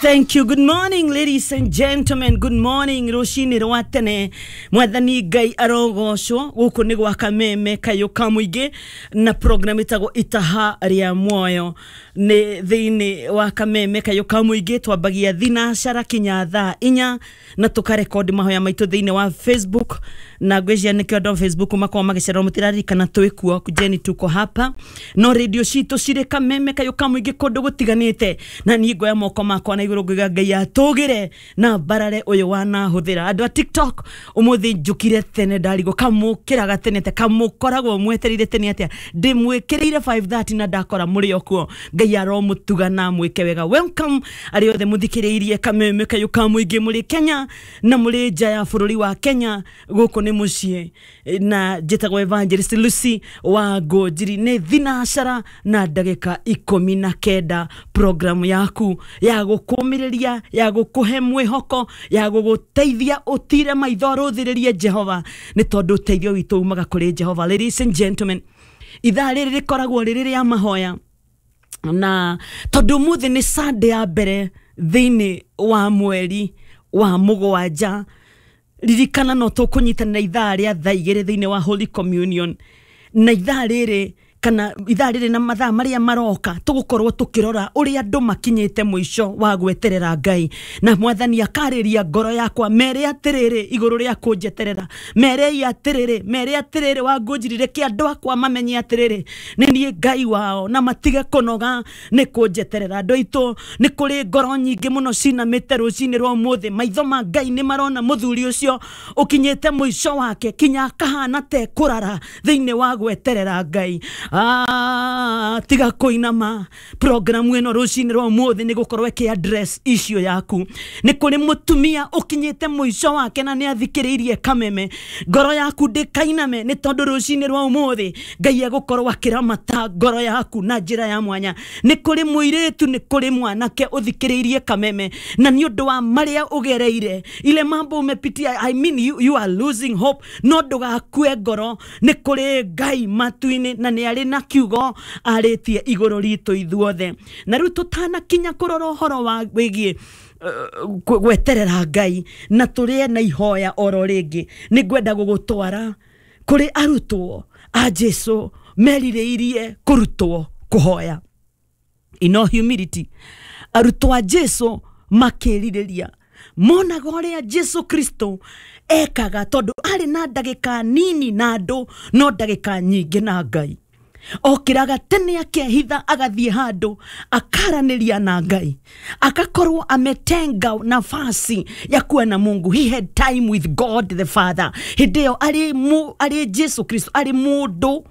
Thank you. Good morning, ladies and gentlemen. Good morning. Rũcinĩ rwa tene. Mwathani Ngai arogocwo. Gũkũ nĩ gwa Kameme Kayũ ka Mũingĩ na program ĩtagwo Itaha rĩa Muoyo. Nĩ thĩinĩ wa Kameme Kayũ ka Mũingĩ twambagia thinacara kinya thaa inya na tũkarekondi mahoya maitũ thĩinĩ wa Facebook na ngwĩciria nĩkĩo andũ a Facebook makoragwo magĩcererwo mũtiraririkana twĩ kuo kujeni tuko hapa no radio citũ cirĩ Kameme Kayũ ka Mũingĩ kũndũ gũtiganĩte na niĩ ngoya moko makwa na igũrũ ngauga Ngai atũgĩre na mbarare ũyũ wanahũthĩra. Andũ a TikTok ũmũthĩ njũkire tene ndarigwo kamũkĩraga tene te kamũkoragwo mwetereire tene atĩa ndĩmwĩkĩrĩire 5:30 na ndakora mũrĩ o kuo. Ngai aromũtuga na mwĩke wega. Welcome arĩa othe mũthikĩrĩirie Kameme Kayũ ka Mũingĩ mũrĩ Kenya na mũrĩ nja ya bũrũri wa Kenya. Gũkũ nĩ mũciĩ na njĩtagwo Evangelist Lucy wa Ngũnjiri. Nĩ thinacara na ndagĩka 19 programu yaku ya gũkũmĩrĩria, ya gũkũhe mwĩhoko, ya gũgũteithia ũtire maitho ũrũthĩrĩrie Jehova nĩ tondũ ũteithio witũ umaga kũrĩ Jehova. Ladies and gentlemen, ithaa rĩrĩ rĩkoragwo rĩrĩ rĩa mahoya na tondũ ũmũthĩ nĩ Sunday ya mbere thĩinĩ wa mweri wa mũgwanja, ririkana no tũkũnyitanĩra ithaa rĩa thaa igĩrĩ thĩinĩ wa Holy Communion na ithaa rĩrĩ kana ithaa rĩrĩ na mathaa marĩa maroka tũgũkorwo tũkĩrora ũrĩa andũ makinyĩte mũico wa gweterera Ngai na Mwathani akarĩria ngoro yakwa mere atĩrĩrĩ igũrũ rĩa kũnjeterera, merei atĩrĩrĩ, mere atĩrĩrĩ wa Ngũnjiri, reke andũ akwa mamenye atĩrĩrĩ nĩ niĩ Ngai wao na matige kũnoga nĩ kũnjeterera. Andũ aitũ nĩ kũrĩ ngoro nyingĩ mũno cinamĩte rũcinĩ rwa ũmũthĩ, maitho ma Ngai nĩ marona mũthuri ũcio ũkinyĩte mũico wake kinya akahana te kũrara thĩinĩ wa gweterera Ngai. Tiga kũinama. Programu ĩno rũcinĩ rwa ũmũthĩ nĩ gũkorwo ĩkĩ address issue yaku. Nĩ kũrĩ mũtumia ũkinyĩte mũico wake na nĩ athikĩrĩirie Kameme, ngoro yaku ndĩkainame nĩ tondũ rũcinĩ rwa ũmũthĩ Ngai egũkorwo akĩramata ngoro yaku na njĩra ya mwanya. Nĩ kũrĩ mũirĩtu, nĩ kũrĩ mwanake ũthikĩrĩirie Kameme na nĩ ũndũ wa marĩa ũgereire, ile mambo umepitia, I mean you are losing hope, no ndũgakue ngoro. Nĩ kũrĩ Ngai matu-inĩ na nĩ arĩ na kiugo arĩtie igũrũ ritũ ithuothe. Na rĩu tũtanakinya kũrora ũhoro wa wĩgiĩ gweterera Ngai na tũrĩe na ihoya oro rĩngĩ, nĩ ngwenda gũgũtwara kũrĩ arutwo a Jesu merirĩirie kũrutwo kũhoya. In all humility, arutwo a Jesu makĩrirĩria monaga ũrĩa Jesu Kristo ekaga tondũ arĩ na ndagĩka nini na andũ no ndagĩka nyingĩ na Ngai. Okĩraga tene akehitha agathiĩ handũ akaranĩria na Ngai, akakorwo ametenga nafasi ya kuwa na Mungu. He had time with God the Father. Hĩndĩ ĩyo arĩ Jesu Kristo, arĩ mũndũ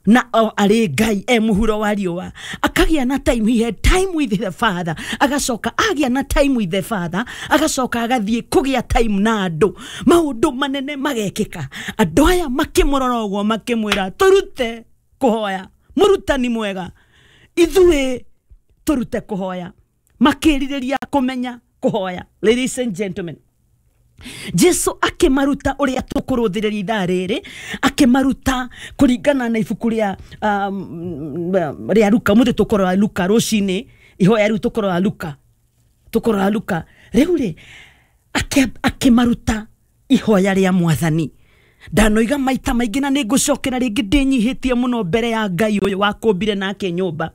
na arĩ Ngai e mũhuro wa riũa, akagĩa na time. He had time with the Father. Agacoka agĩa na time with the Father, agacoka agathiĩ kũgĩa time na andũ. Maũndũ manene magekĩka. Andũ aya makĩmũrora ũguo makĩmwĩra tũrute kũhoya, mũrutani mwega, ithuĩ tũrute kũhoya. Makĩrirĩria kũmenya kũhoya. Ladies and gentlemen, Jesu akĩmaruta ũrĩa tũkũrũthĩrĩria ithaa rĩrĩ, akĩmaruta kũringana na ibuku rĩa rĩa Luka. Mũthĩ tũkũrora Luka rũcinĩ, ihoya rĩu tũkũrora Luka, tũkũrora Luka. Rĩu rĩ akĩmaruta ihoya rĩa Mwathani. Ndanoiga maita maingĩ na nĩ ngũcokera rĩngĩ ndĩnyihĩtie mũno mbere ya Ngai ũyũ wakũmbire nake nyũmba,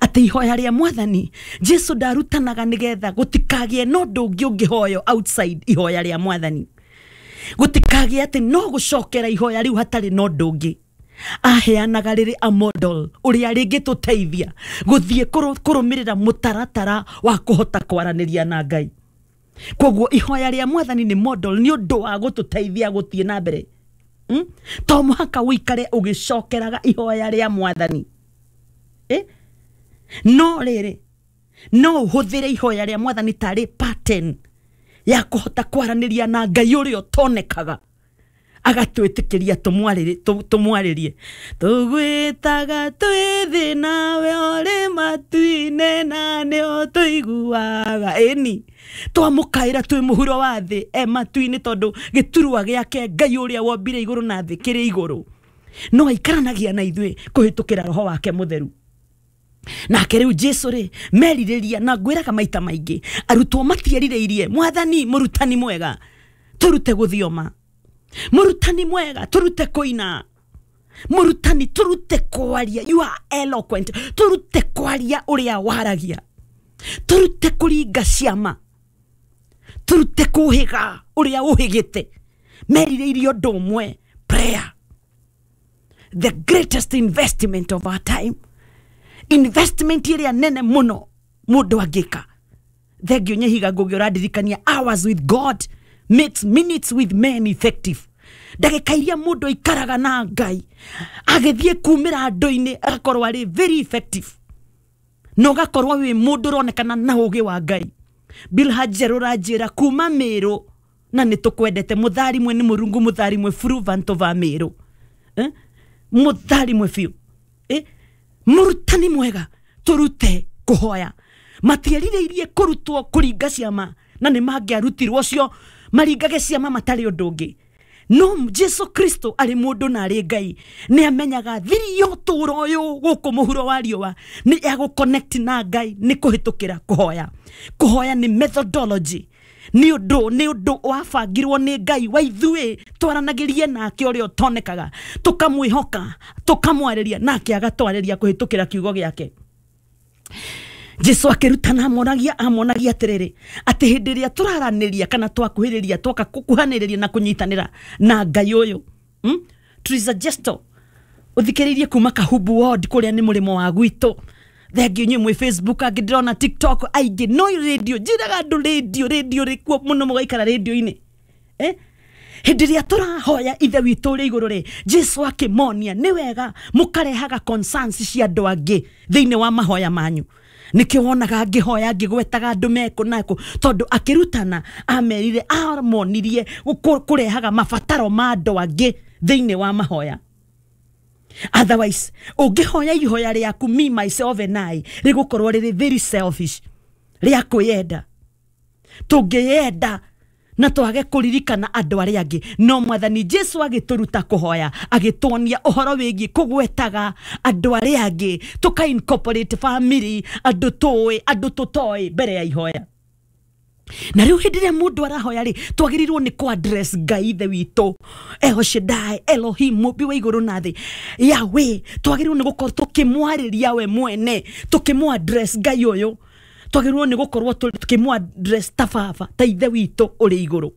atĩ ihoya rĩa Mwathani Jesu ndarutanaga nĩgetha gũtikagĩe na ũndũ ũngĩ ũngĩhoywo outside ihoya rĩa Mwathani, gũtikagĩe atĩ no gũcokera ihoya rĩu hatarĩ na ũndũ ũngĩ. Aheanaga rĩrĩ a model ũrĩa rĩngĩtũteithia gũthiĩ kũrũmĩrĩra mũtaratara wa kũhota kwaranĩria na Ngai. Koguo ihoya rĩa Mwathani nĩ model nĩ ũndũ wa gũtũteithia gũthiĩ na mbere. To mũhaka ũikare ũgĩcokeraga ihoya rĩa Mwathani. No rĩrĩ no ũhũthĩre ihoya rĩa Mwathani tarĩ pattern ya kũhota kwaranĩria na Ngai ũrĩa ũtonekaga, agatwĩtĩkĩria tũmwarĩrie. Tũgwĩtaga twĩ thĩ nawe ũrĩ matu-inĩ na nĩ ũtũiguaga. Ĩni twamũkaĩra twĩ mũhuro wa thĩ e matu-inĩ, tondũ gĩturwa gĩake Ngai ũrĩa wombire igũrũ na thĩ kĩrĩ igũrũ, no aikaranagia na ithuĩ kũhĩtũkĩra Roho wake Mũtheru. Nake rĩu Jesu rĩ merirĩria na ngwĩraga maita maingĩ arutwo matierirĩirie mwathani mũrutani mwega tũrute gũthioma, mũrutani mwega tũrute kũina, mũrutani tũrute kwaria, you are eloquent, tũrute kwaria ũrĩa waragia, tũrute kũringa ciama, tũrute kũhĩga ũrĩa ũhĩgĩte. Merirĩirie ũndũ ũmwe, prayer, the greatest investment of our time, investment ĩrĩa nene mũno mũndũ angĩka. Thengio Nyehiga Ngũgĩ ũrandirikania hours with God makes minutes with men effective. Ndagĩka iria mũndũ aikaraga na Ngai agĩthiĩ kumĩra andũ-inĩ agakorwo arĩ very effective, na ũgakorwo wĩ mũndũ ũronekana na ũgĩ wa Ngai. Bilha Njerũ ũranjĩra kuma Mĩrũ na nĩ tũkwendete, mũtharimwe nĩ mũrungu, mũtharimwe buru vanto va Mĩrũ, mũtharimwe biũ, mũrutani mwega tũrute kũhoya. Matierirĩirie kũrutwo kũringa ciama na nĩ mangĩarutirwo cio maringage ciama matarĩ ũndũ ũngĩ. No Jesu Kristo arĩ mũndũ na arĩ Ngai nĩ amenyaga thiri ya ũtũũro ũyũ gũkũ mũhuro wa riũa nĩ ya gũconnect na Ngai nĩ kũhĩtũkĩra kũhoya. Kũhoya nĩ methodology, nĩ ũndũ wabangirwo nĩ Ngai wa ithuĩ twaranagĩrie nake ũrĩa ũtonekaga, tũkamwĩhoka, tũkamwarĩria nake agatwarĩria kũhĩtũkĩra kiugo gĩake. Jesu akĩrutana amonagia atĩrĩrĩ atĩ hĩndĩ ĩrĩa tũraranĩria kana twakuhĩrĩria twoka gũkuhanĩrĩria na kũnyitanĩra na Ngai ũyũ, Teresa Gesto ũthikĩrĩirie kuma Kahubu Ward kũrĩa nĩ mũrĩmo wa gwitũ. Thengio inyuĩ mwĩ Facebook, angĩ ndĩrona TikTok, aingĩ no radio, njĩraga andũ radio, radio rĩkuo mũno mũgaikara radio-inĩ. Hĩndĩ ĩrĩa tũrahoya ithe witũ ũrĩ igũrũ rĩ, Jesu akĩmonia nĩ wega mũkarehaga concerns cia andũ angĩ thĩinĩ wa mahoya manyu. Nĩkĩo wonaga ngĩhoya ngĩgwetaga andũ mekũ nakũ, tondũ akĩrutana amerire amonirie kũrehaga mabataro ma andũ angĩ thĩinĩ wa mahoya. Otherwise ũngĩhoya ihoya rĩaku me myself and I rĩgũkorwo rĩrĩ very selfish, rĩa kwĩyenda. Tũngĩyenda na twage kũririkana andũ arĩa angĩ. No mwathani Jesu agĩtũruta kũhoya, agĩtuonia ũhoro wĩgiĩ kũgwetaga andũ arĩa angĩ, tũka incorporate family, andũ tũĩ, andũ tũtoĩ mbere ya ihoya. Na rĩu hĩndĩ ĩrĩa mũndũ arahoya rĩ, twagĩrĩirwo nĩ kũ address Ngai ithe witũ, El Shaddai, Elohim, mũmbi wa igũrũ na thĩ, Yahweh. Twagĩrĩirwo nĩ gũkorwo tũkĩmwarĩria we mwene, tũkĩmũ address Ngai ũyũ. Twagĩrĩirwo nĩ gũkorwo tũkĩmũ address ta baba, ta ithe witũ ũrĩ igũrũ,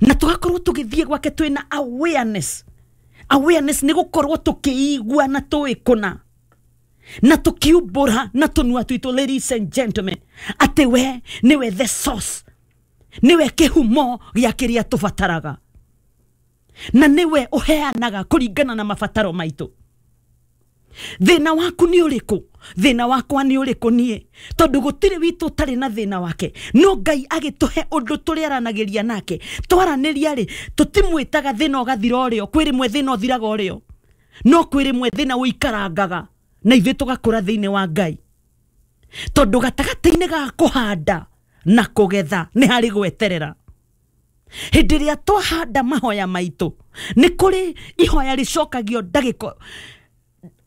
na tũgakorwo tũgĩthiĩ gwake twĩna awareness. Awareness nĩ gũkorwo tũkĩigua na tũĩ kũna na tũkiumbũra na tũnua twitũ, ladies and gentlemen, atĩ we nĩwe the source, nĩwe kĩhumo gĩa kĩrĩa tũbataraga, na nĩwe ũheanaga kũringana na mabataro maitũ. Thĩna waku nĩ ũrĩkũ? Thĩna wakwa nĩ ũrĩkũ niĩ? Tondũ gũtirĩ witũ ũtarĩ na thĩna wake. No Ngai agĩtũhe ũndũ tũrĩaranagĩria nake. Twaranĩria rĩ, tũtimwĩtaga thĩna ũgathira ũrĩo. Kwĩ rĩmwe thĩna ũthiraga ũrĩo, no kwĩ rĩmwe thĩna ũikarangaga na ithuĩ tũgakũra thĩinĩ wa Ngai. Tondũ gatagatĩ-inĩ ga kũhanda na kũgetha nĩ harĩ gweterera. Hĩndĩ ĩrĩa twahanda mahoya maitũ, nĩ kũrĩ ihoya rĩcokagio ndagĩka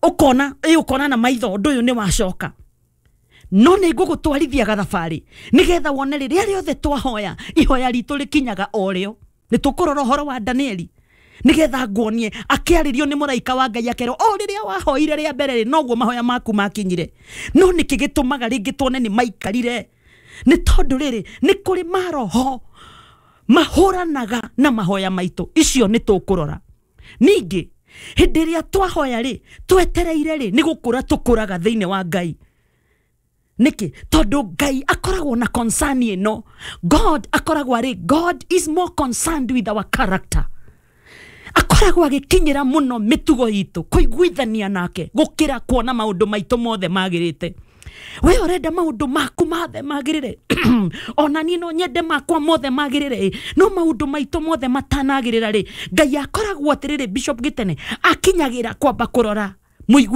ũkona, ũkona na maitho ũndũ ũyũ nĩ wacoka. No nĩ ngũgũtwarithia gathabarĩ nĩgetha wone rĩrĩa rĩothe twahoya ihoya ritũ rĩkinyaga o rĩo. Nĩ tũkũrora ũhoro wa Danieli nĩgetha nguonie akĩarĩrio nĩ mũraika wa Ngai akerwo o rĩrĩa wahoire rĩa mbere rĩ, noguo mahoya maku makinyire. No nĩkĩ gĩtũmaga rĩngĩ tuone nĩ maikarire? Nĩ tondũ rĩrĩ nĩ kũrĩ maroho mahũranaga na mahoya maitũ. Icio nĩ tũkũrora. Ningĩ hĩndĩ ĩrĩa twahoya rĩ, twetereire rĩ, nĩ gũkũra tũkũraga thĩinĩ wa Ngai. Nĩkĩ? Tondũ Ngai akoragwo na concern ĩno. God akoragwo arĩ, God is more concerned with our character. Akoragwo agĩkinyĩra mũno mĩtugo itũ, kũiguithania nake, gũkĩra kuona maũndũ maitũ mothe magĩrĩte. We ũrenda maũndũ maku mothe magĩrĩre, ona niĩ no nyende makwa mothe magĩrĩre, no maũndũ maitũ mothe matanagĩrĩra rĩ, Ngai akoragwo atĩrĩrĩ, Bishop Gitene akinyagĩra kwamba kũrora mũiguithania